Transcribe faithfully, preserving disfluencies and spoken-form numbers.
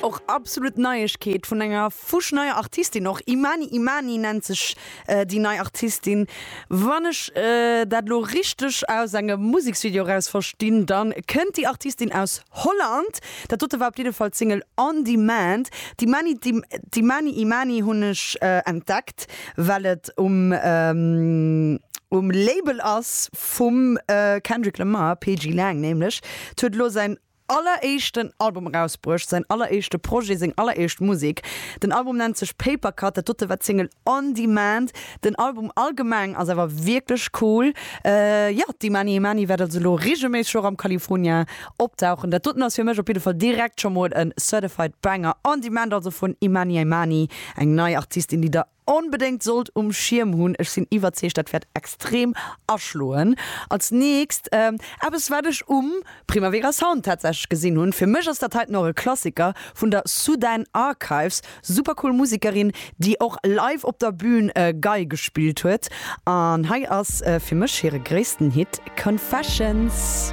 Och absolut Neiegkeet vun enger fuschneier Artistin och. Imani Imani nennt sech déi nei Artistin. Wann ech dat lo richteg aus engem Museksvideo eraus verstinn, dann kënnt déi Artistin aus Holland. Dat dote war op jidde Fall d'Single On Demand. D'Imani d'Imani Imani hunn ech entdeckt, well et um um Label ass vum Kendrick Lamar, P G Lang nämlech. Huet elo säin alleréischten Album erausbruecht, säin alleréischte Projet, seng alleréischt Musek. Den Album nennt sech Papercut, dat dote war d'Single On Demand. Den Album allgemeng ass awer wierklech cool. Jo, d'Imani Imani wäert also elo reegelméisseg och am California opdauchen. Dat doten ass fir mech op jidde Fall direkt scho mol e certified Banger. On Demand also vun Imani Imani, eng nei Artistin, déi der onbedéngt sollt um Schierm hunn. Ech sinn iwwerzeegt, dat wäert extrem aschloen. Als nächst eppes, wat ech um Primavera Sound tatsächlech gesinn hunn. Fir mech ass dat heiten och e Klassiker vun der Sudan Archives. Super cool Musekerin, déi och live op der Bühn Gei gespillt huet. An hei ass fir mech hire gréissten Hit Confessions.